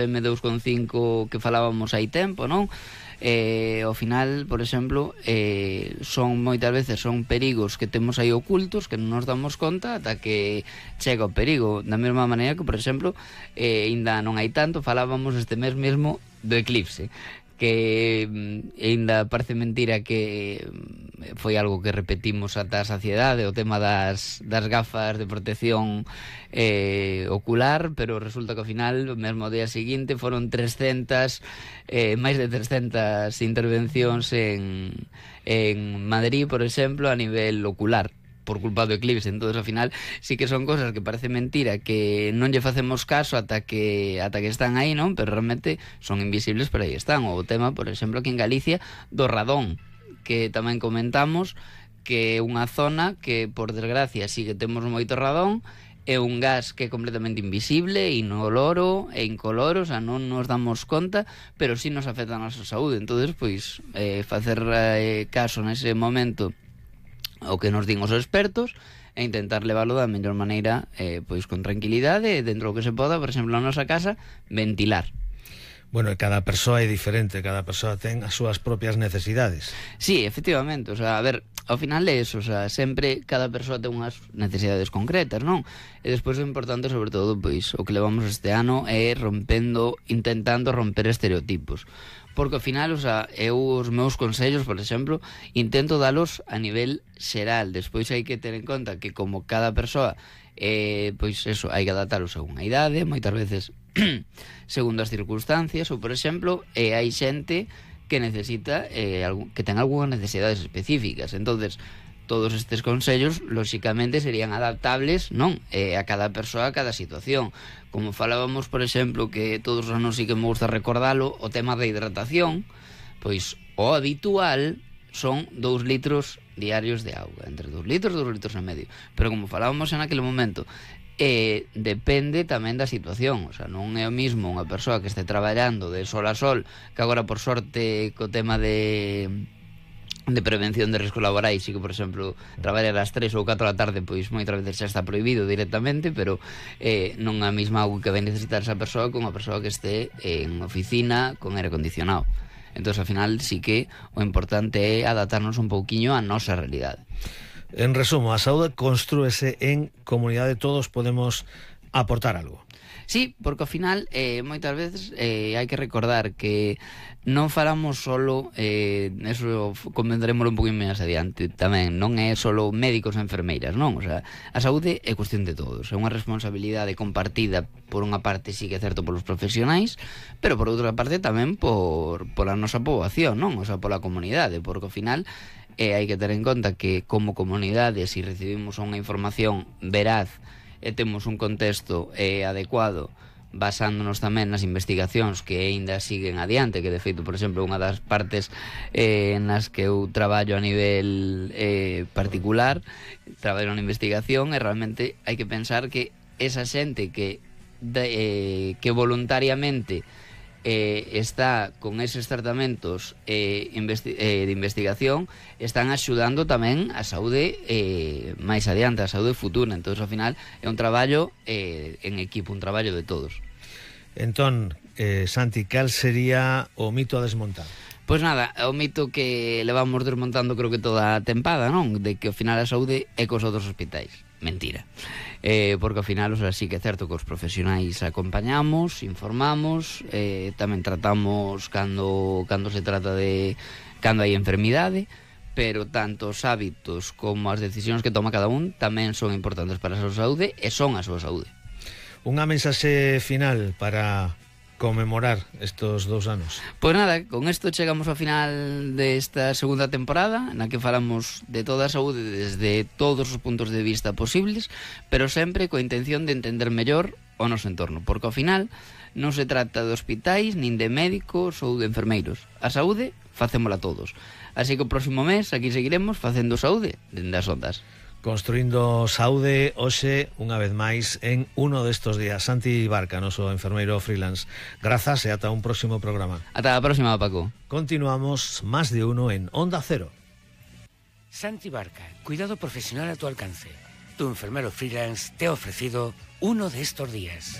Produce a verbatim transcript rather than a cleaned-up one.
eme dous coma cinco que falábamos hai tempo, non? Eh, ao final, por exemplo, eh, son moitas veces son perigos que temos aí ocultos que non nos damos conta ata que chega o perigo. Da mesma maneira que, por exemplo, eh, ainda non hai tanto, falábamos este mes mesmo do eclipse, que ainda parece mentira que foi algo que repetimos ata a saciedade, o tema das, das gafas de protección eh, ocular, pero resulta que ao final, o mesmo día seguinte, foron trescentas, eh, máis de trescentas intervencións en, en Madrid, por exemplo, a nivel ocular, por culpa do eclipse. Entonces, ao final, sí que son cosas que parece mentira, que non lle facemos caso ata que ata que están aí, non? Pero realmente son invisibles, pero aí están. O tema, por exemplo, aquí en Galicia, do radón, que tamén comentamos, que é unha zona que, por desgracia, sí que temos moito radón, é un gas que é completamente invisible, inoloro e incoloro, o sea, non nos damos conta, pero sí nos afecta a nosa saúde. Entonces, pois, eh, facer eh, caso nese momento o que nos din os expertos e intentar leválo da mellor maneira, eh, pois con tranquilidade e dentro do que se poda, por exemplo, na nosa casa, ventilar. Bueno, cada persoa é diferente, cada persoa ten as súas propias necesidades. Sí, efectivamente, o sea, a ver, ao final é eso, o sea, sempre cada persoa ten unhas necesidades concretas, non? E despois o importante, sobre todo, pois, o que levamos este ano é rompendo, intentando romper estereotipos. Porque ao final, o sea, eu os meus consellos, por exemplo, intento dalos a nivel xeral. Despois hai que ter en conta que como cada persoa, eh, pois eso, hai que adaptalos a unha idade, moitas veces segundo as circunstancias, ou por exemplo, eh, hai xente que necesita, eh, que ten algunhas necesidades específicas. Entonces, todos estes consellos, lóxicamente, serían adaptables, non? Eh, a cada persoa, a cada situación. Como falábamos, por exemplo, que todos os anos sí que me gusta recordalo, o tema da hidratación, pois o habitual son dous litros diarios de auga, entre dous litros e dous litros e medio. Pero como falábamos en aquele momento, eh, depende tamén da situación, o sea, non é o mismo unha persoa que este traballando de sol a sol, que agora, por sorte, co tema de de prevención de riscos laborais, e que, por exemplo, traballar ás tres ou catro da tarde, pois moitas veces xa está prohibido directamente, pero eh, non a mesma auga que vai necesitar esa persoa con unha persoa que este en oficina con aire acondicionado. Entón, ao final, sí que o importante é adaptarnos un pouquiño á nosa realidade. En resumo, a saúde construese en comunidade, todos podemos aportar algo. Sí, porque ao final eh, moitas veces eh, hai que recordar que non falamos solo, eh, eso convendrémoslo un poquinho máis adiante tamén, non é solo médicos e enfermeiras, non? O sea, a saúde é cuestión de todos, é unha responsabilidade compartida por unha parte, sí que é certo, polos profesionais, pero por outra parte tamén por, por a nosa poboación, non? O sea, pola comunidade, porque ao final eh, hai que ter en conta que como comunidade, se si recibimos unha información veraz e temos un contexto eh, adecuado, basándonos tamén nas investigacións que aínda siguen adiante, que de feito, por exemplo, unha das partes eh, nas que eu traballo a nivel eh, particular, traballo na investigación, e realmente hai que pensar que esa xente que, de, eh, que voluntariamente eh, está con eses tratamentos eh, investi eh, de investigación, están axudando tamén a saúde eh, máis adiante, a saúde futura. Entón, ao final, é un traballo eh, en equipo, un traballo de todos. Entón, eh, Santi, cal sería o mito a desmontar? Pois nada, o mito que levamos desmontando creo que toda a tempada, non? De que ao final a saúde é cos outros hospitais. Mentira. Eh, porque ao final, o sea, sí que é certo que os profesionais acompañamos, informamos, eh, tamén tratamos cando, cando se trata de cando hai enfermidade, pero tanto os hábitos como as decisións que toma cada un tamén son importantes para a súa saúde e son a súa saúde. Unha mensaxe final para conmemorar estos dous anos. Pois nada, con isto chegamos ao final desta segunda temporada, na que falamos de toda a saúde desde todos os puntos de vista posibles, pero sempre coa intención de entender mellor o noso entorno, porque ao final non se trata de hospitais, nin de médicos ou de enfermeiros. A saúde facémola todos. Así que o próximo mes aquí seguiremos facendo saúde dende as ondas. Construindo saúde hoxe, unha vez máis, en uno destos días. Santi Barca, noso enfermeiro freelance. Grazas e ata un próximo programa. Ata a próxima, Paco. Continuamos Más de Uno en Onda Cero. Santi Barca, cuidado profesional a tu alcance. Tu enfermero freelance te ha ofrecido Uno de estos días.